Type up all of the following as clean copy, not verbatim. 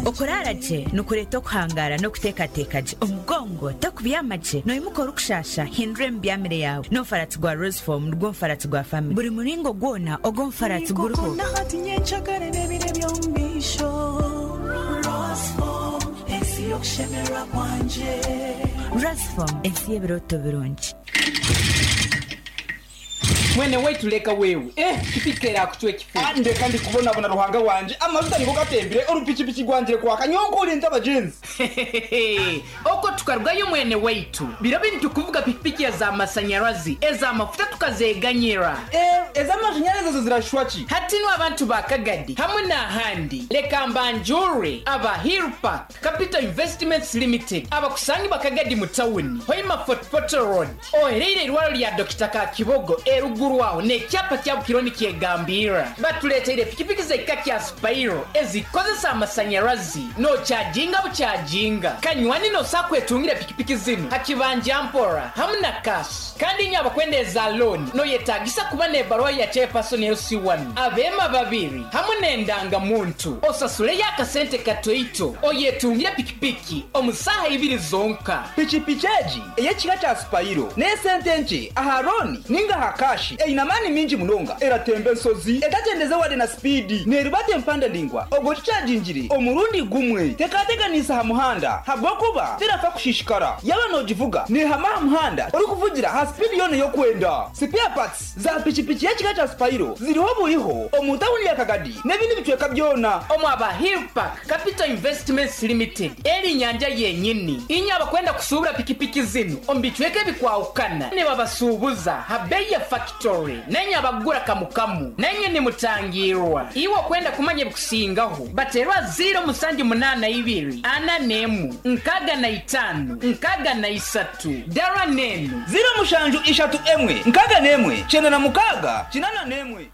Okuraara gye nikureeta okuhangaara n'okuteekateeka gye. Omugongo tokubyama gye, noimuka orikushaasha, hindura emibyamire yaawe. N'omufaratsi gwa Roseform nigwo mufaratsi gwa famire. Buri muringo gwona ogw'omufaratsi guriho. Roseform, ensi y'ebirooto birungi. Mwene waitu leka wewe, eh pikipiki erakucwa ekifu. Ah ndeka ndi kubonabona Ruhanga wangye, amajuta nigo gatembire, orupikipiki rwangire kwaka, nyowe nkore nta bagyenzi? Hehehehe okwo tukarugayo mwene waitu, biro binu tukuvuga pikipiki eza masanyarazi, eza mafuta tukazeganyira. Eh ez'amashanyarazi ezo zirashwa ki? Hati nu abantu ba Kagadi hamwe n'ahandi leka mbanjurre aba Hill Park Capital Investments Limited abakusangibwa Kagadi mu tawuni, Hoima Fort Portal Road. Ohereire eirwariro lya Dokita Kakibogo eruguru aho n'ekyapa kya Bukiro nikyegambirra. Batuleeteire pikipiki z'ekika kya Spiro ezikukozesa amasanyarazi n'okyajinga bukyajinga. Kanywani n'osobola kwetungira pikipiki zinu ha kibanja mpora hamu na cash. Kandi inywe abakwenda eza looni noyetagisa kuba n'ebaruha ya Chairperson LC1, abeema babiri hamu n'endanga muntu. Osasuleyo akasente katoito oyetungire pikipiki omu saaha ibiri zonka. Pikipiki egi ey'ekika kya Sipayiro n'esente nkye aha looni ninga aha kaashi. Eine amaani maingi munonga, eratemba ensozi etakyendeze wade na sipiidi, neerubata empanda ndaingwa obwo ogikyagingire omurundi gumwe. Tekateganiisa aha muhanda habw'okuba terafa kushishikara. Yaaba noogivuga neehama aha muhanda orikuvugira aha sipiidi yoona ei orikwenda. Sipeya patsi za pikipiki y'ekika kya Sipayiro ziriho buriho omu tauni ya Kagadi n'ebindi bicweka byona. Omu aba Hill Park Capital Investments Limited eri nyanja yenyini. Inywe abakwenda kusuubura pikipiki zinu omu bicweka ebikwahukana nibabasuubuza ha beeyi ya fakitori nainywe abakugura kamu kamu nainywe nimutangiirwa. Iwe okwenda kumanya ebikusingaho bateerwa ziiro 782 41 65 63 Dara n'enu. Ziiro mushanju ishatu emwe 61 96 81.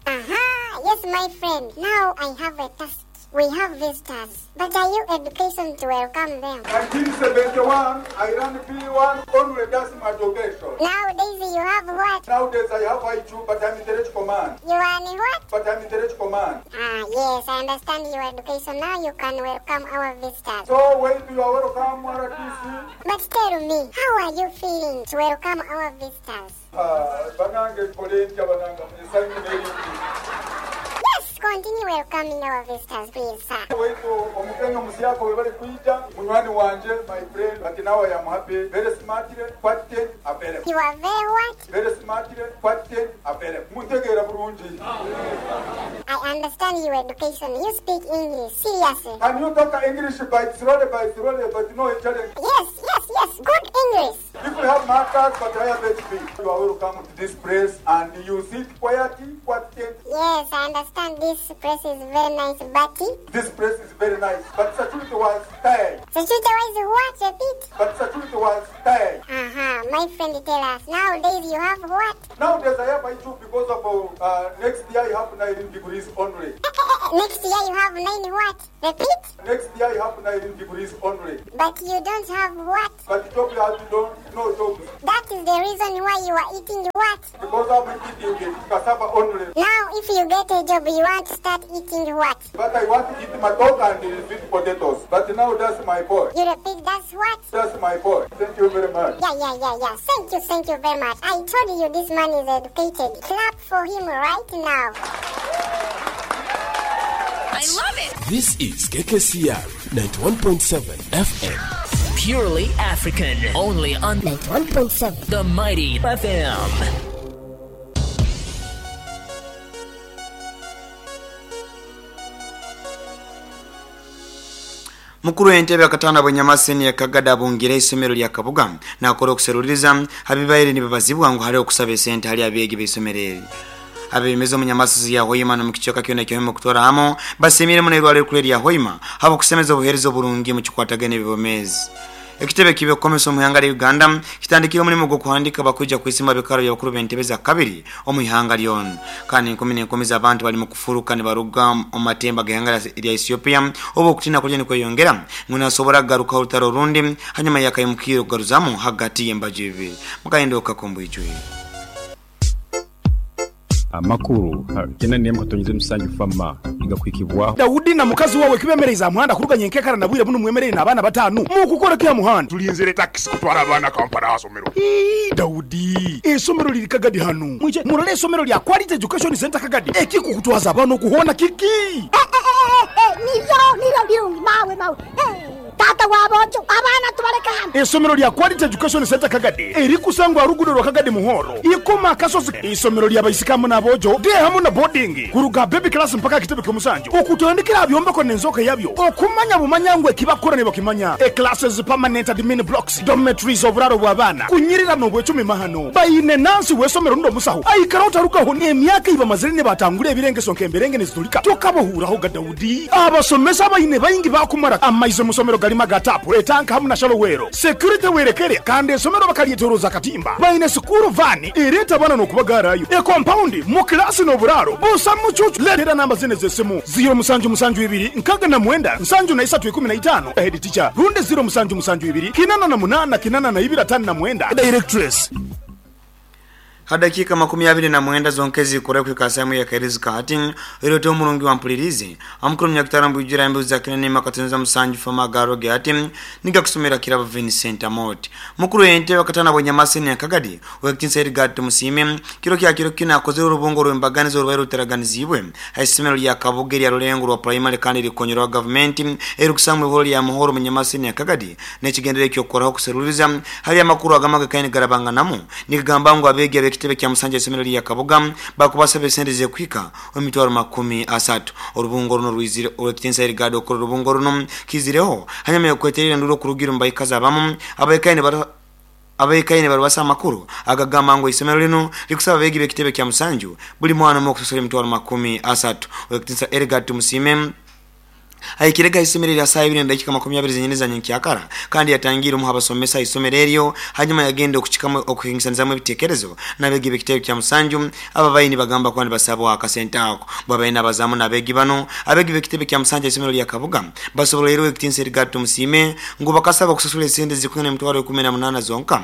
Aha, yes my friend, now I have a task. We have visitors, but are you education to welcome them? 1971, I ran P1 only, that's my education. Nowadays you have what? Nowadays I have IQ, but I'm intellectual man. You are an what? But I'm intellectual man. Ah, yes, I understand your education. Now you can welcome our visitors. So, wait, you are welcome, RTC. But tell me, how are you feeling to welcome our visitors? Ah, banange nkole ntya banange esanyu n'eringi. Yes, continue welcoming our visitors, please, sir. Waitu omugenyi omusyaka webale kwija munywani wangye my friend but now I am happy very smartly quite available. You are very what? Very smartly quite available. Muntegeera burungi? I understand your education. You speak English, seriously. Can you talk English by slowly by slowly but no challenge? Yes, yes, yes, good English. If you have markers but I have HP, you are welcome to this place and you sit quietly, quietly. Yes, I understand this place is very nice, but... This place is very nice, but security was tight. Security was what? Repeat. But security was tight. Aha, my friend tell us, nowadays you have what? Nowadays I have IQ because of next year I have 9 degrees only. Next year you have 9 what? Repeat. Next year I have 9 degrees only. But you don't have what? But job you have don't no jobs. That is the reason why you are eating what? Because I'm eating cassava only. Now if you get a job you want to start eating what? But I want to eat my dog and sweet potatoes. But now that's my boy. You repeat, that's what? That's my boy. Thank you very much. Yeah, yeah, yeah, yeah. Thank you, thank you very much. I told you this man is educated. Clap for him right now. I love it! This is KKCR 91.7 FM. Purely African. Only on 91.7 The Mighty FM. Mukuru w'entebe akatanda bwenyama senior Kagada abungire isomero lya Kabuga nakora okuseruliriza abibaire nibabazibwa ngu hali okusaba esente hali abeegi b'isomero eri. Abebembezi omu Nyamasizi ya Hoima n'omu kicweka kyona ekya Hoima okutwara hamo basiimire muno eirwariro erikuru erya Hoima habw'okusemeza obuheereza oburungi omu kikwatagaine n'eby'obwomeezi. Ekitebe ky'ebyokukomesa omu ihanga rya Uganda kitandikire omurimo gw'okuhandiika abakwija kwesimba aha bikaro by'abakuru b'entebe za kabiri omu ihanga ryona. Kandi enkumi n'enkumi z'abantu barimu kufuruka nibaruga omu matemba g'ihanga rya Ethiopia obu okutiina kuriyo nikweyongera ngu nihasobora kugarukaho orutaro orundi hanyuma y'akaimukiiro kugaruzamu hagati y'embaju ibiri. Mukahinduka k'omu bwijwire. Amakuru 97 FAMA nigakuhikibwaho. Daudi na mukazi wawe kibemereize aha muhanda kuruga nyenkekara na bwire bunu mwemereire n'abaana batanu mukukora ki aha muhanda? Tulinzire takisi kutwara abaana Kampala aha somero. Ii Daudi, eisomero liri Kagadi hanu. Mwije murole eisomero lya Quality Education Centre Kagadi. Ekikukutwaza abaana oku hoona kiki? Niryo niryo birungi mawe mawe. Taata wa boojo, abaana tubaleke hanu. Eisomero lya Quality Education Centre Kagadi erikusangwa aha ruguudo rwa Kagadi Muhoro, Ikoma Akasozi. Eisomero lya baisiki hamu n'aboojo, day hamu na boarding, kuruga aha baby class mpaka aha kitebe ky'omusanju. Okutandikira aha byombeko n'enzooka yabyo, okumanya bumanya ngu eki bakukora nibakimanya. E Classes, permanent admin blocks, dormitories, oburaaro bw'abaana, kunyirira n'obwecumi mahano. Baine nansi w'eisomero rundi omusaho aikara otarugaho n'emyaka ei bamazire nibatangura ebirengeso nk'emberenge niziturika. Tokabahuuraho ga Daudi. Abasomesa abaine baingi baakumara amaizi omu somero garimu aga taapu, etanka hamu na shalowero. Security werekere kandi eisomero bakaryetoroza akatimba. Baine sikuuru vaani ereeta abaana n'okubagaarayo. Ekompaundi, mu kilaasi n'oburaaro busa mucuucu. Leetera namba zinu ez'esimu, ziiro musanju musanju ibiri nkaaga na mwenda nsanju na isatu ikumi na itaano, Head teacher, rundi ziiro musanju musanju ibiri kinana na munaana kinana na ibiri 59, Directress. Ha dakiika 29 zonka ezikura kuhika saamu ya kairizi kahati oirote omurungi wampulirize omukuru munyakutara mbwijura embizi za kinene makatonza musanju fama garoge ati nigakusomera kirabo Vincent Amot mukuru ente wakatana bwenyamaseni ya Kagadi wekitinsa Edgar Tumusime kiro kya kiro kina akozere urubungo rw'embaganizo rubaire ruteraganizibwe haisomero lya Kabuge lya Rulengo rwa primary kandi rikonyerwa gavumenti erikusangwa ihoro lya Muhoro munyamaseni ya Kagadi n'ekigendere ky'okukoraho kuseruriza hari amakuru agamaga kaini garabanganamu nikagamba ngu abeegi ab'ekitebe kya Musanja isomero lya Kabuga bakubasaba esente z'ekuhika emitwaro 30. Orubungo runo rwizire owekitinsa Edgar okora orubungo runo kizireho hanyuma yokweterera nduro kurugira omu baikazi abamu abaikaine barubasa amakuru agagamba ngu isomero lino likusaba abeegi b'ekitebe kya Musanju buli mwana omwe okusasura emitwaro 30. Owekitinsa Edgar Tumusime ahikirega isomero lya saa ibiri na dakika 20 zenyini za nyenkyakara kandi yatangiire omu abasomesa isomero eryo hanyuma yagenda okuchikamu okuhingisanizamu ebitekerezo n'abeegi b'ekitebe kya Musanju. Aba baini bagamba kuba nibasabwa akasente ako bwabaine abazamu n'abeegi bano. Abeegi b'ekitebe kya Musanju isomero lya Kabuga basobola rero ekitinsa Edgar Tumusime ngu bakasaba okusasura esente zikwingana emitwaro 18 zonka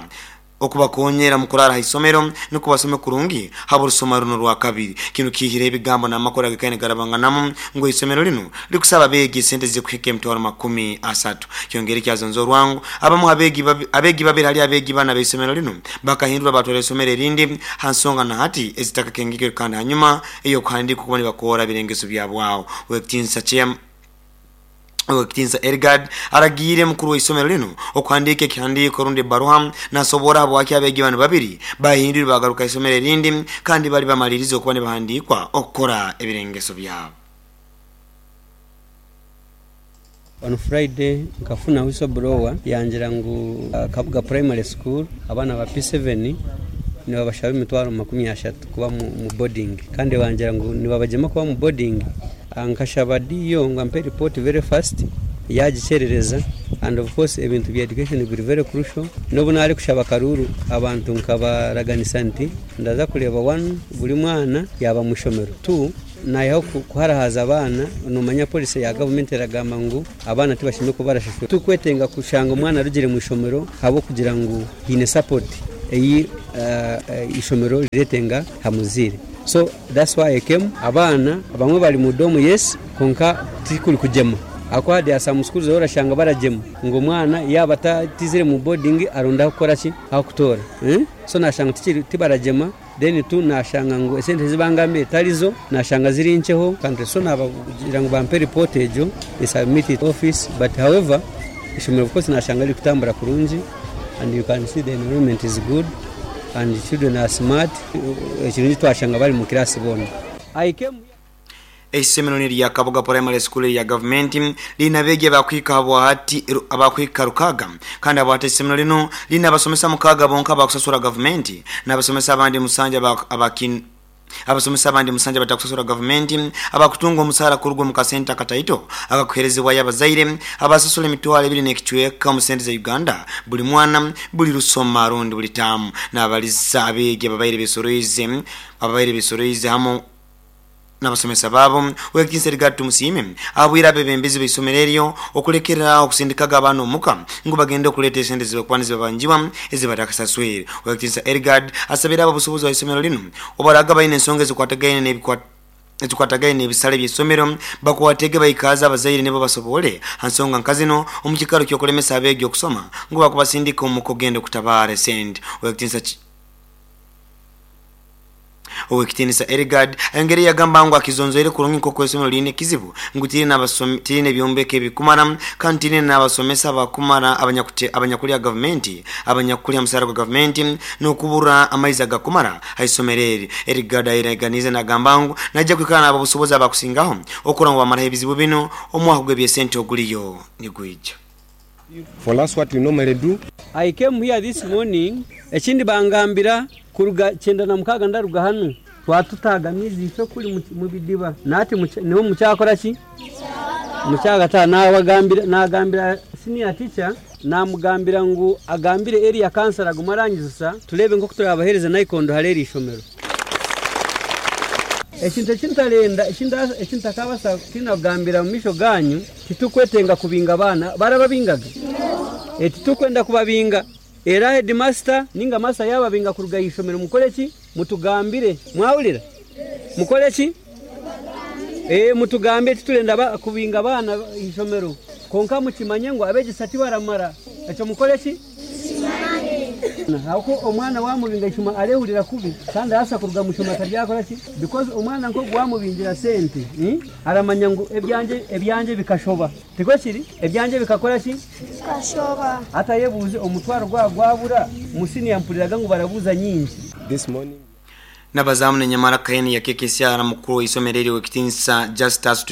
okubakonyera mu kurara ha isomero nukwo basome kurungi haba orusoma runo rwa kabiri. Kinu kihire ebigambo n'amakuru agakaine garabanganamu ngu isomero linu likusaba abeegi esente zikuhika emitwaro 30. Kyongere kyazonza orwangu abamu abeegi babiri hali abeegi bana b'isomero linu bakahindura batwara isomero erindi ha nsonga na hati ezitakakengekere kandi hanyuma ey'okuhandiika okuba nibakora ebirengeso byabwaho. Wekitinsa kyem Owekitinsa Edgard aragiire mukuru w'isomero linu okuhandiika ekihandiiko rundi ebaruha nasobora habwaki abeegi banu babiri bahindwire bagaruka isomero erindi kandi bali bamalirize okuba nibahandiikwa okukora ebirengeso byabo. On Friday nkafuna whistle blower yangira ngu Kabuga Primary School abaana ba P7 nibabashaba emitwaro 30 kuba mu boarding kandi bangira ngu nibabagyema kuba mu boarding. Nkashaba DO ngu ampe report very fast, yagikyerereza, and of course ebintu bya education biri very crucial. N'obu nari kushaba akaruuru abantu nkabaraganisa nti ndaza kureeba one buri mwana yaaba mu ishomero, two nayihaho kuharahaza abaana. Nomanya policy ya gavumenti eragamba ngu abaana tibashemereire kuba barashashura. Titurikwetenga kushanga omwana arugire mu ishomero ahabw'okugira ngu haine support ei ishomero riretenga aha muzaire. So that's why I came. Abaana abamwe bari mu dorm, yes, kwonka tikuri kugyema ahakuba there are some schools ahu orashanga baragyema ngu omwana yaaba atizire mu boarding aronde ah'okukora ki, ah'okutoora. So nashanga tibaragyema. Then tu nashanga ngu esente ezi bangambire tarizo, nashanga ziri nkyeho kandi so nabagira ngu bampe report egyo nsubmit it office, but however ishomero of course nashanga ririkutambura kurungi and you can see the environment is good and children are smart. Ekirungi twashanga bari mu class boona. I came here. Eisomero n'erya Kabuga Primary School erya gavumenti liine abeegi abakuhika habwahati abakuhika 600 kandi habwahati eisomero linu liine abasomesa 6 bonka abakusasura gavumenti n'abasomesa abandi musanju abakin abasomesa abandi musanju abatakusasura gavumenti abakutunga omusaara kuruga omu kasente akataito akakuherezebwayo abazaire abasasura 2000 n'ekicweka omu sente za Uganda buli mwana buli rusoma rundi buli taamu. Nabaliza abeegi ababaire besoroize ababaire besoroize hamu. N'abasomesa baabo, Ow'ekitiinisa Edgar Tumusiime ahabwire abebembezi b'eisomero eryo okulekerera agho okusindikaga abaana omuka ngu bagende okuleeta esente ezibakuba nizibabanjibwa ezibatakasaswire. Ow'ekitiinisa Edgard asabire abobusobozi bwa isomero lino obaraaga baine ensonga ezikwatagaine ezikwatagaine n'ebisale by'eisomero bakwatege baikaaze abazaire nibo basobole ha nsonga nka zino omu kikaro ky'okulemesa abeegi okusoma ngu bakubasindika omuka okugenda okutabaara esente. Ow'ekitiinisa. Ow'ekitiinisa Eligard ayongeire yagamba ngu akizonzoire kurungi nk'oku eisomero liine ekizibu ngu tiriine byombeko ebikumara kandi tiriine n'abasomesa abakumara abanyakulya gavumenti abanyakulya musaara gwa gavumenti n'okubura amaizi agakumara ha isomero eri. Eligard ayeraganiize nagamba ngu naija kwikara n'abobusobozi abakusingaho okurora ngu bamaraho ebizibu binu omwaka gw'ebyesente oguliyo nigwija. For us what we normally do. I came here this morning, ekindi bangambira kuruga 96 ndaruga hanu twatutaaga amaizi itwe kuri mu bidiba nahati niho mukyakora ki? Mukyagataha. Nabagambira nagambira senior teacher namugambira ngu agambire area councillor agume arangizusa tureebe nkoku turabahereze naikondo hari eri ishomero. Ekintu eki ntarenda eki ntakabasa kutiina kugambira omu maisho ganyu, Titurikwetenga kubinga abaana. Barababingaga? Ee, titurikwenda kubabinga. Era hedimasita nainga masta yaababinga kuruga aha ishomero mukore ki? Mutugambire. Mwahurira? Mukore ki? Ee, mutugambire. Titurenda kubinga abaana aha ishomero. Kwonka mukimanye ngu abeegyesa tibaramara. Ekyo mukore ki? Ahabw'okuba omwana wamubinga ishoma arehurira kubi kandi arabasa kuruga omu ishomero ataryakora ki because omwana nk'ogu wamubingira sente aramanya ngu ebyangye ebyangye bikashoba tikwo kiri? Ebyangye bikakora ki? Bikashoba. Hati ayebuuze omutwaro gwaba gwabura mu siniya mpuriraga ngu barabuuza nyingi. This morning. N'abazaamu nenyamara Kaini yakekesyara mukuru w'eisomero eri ow'ekitinisa Justus.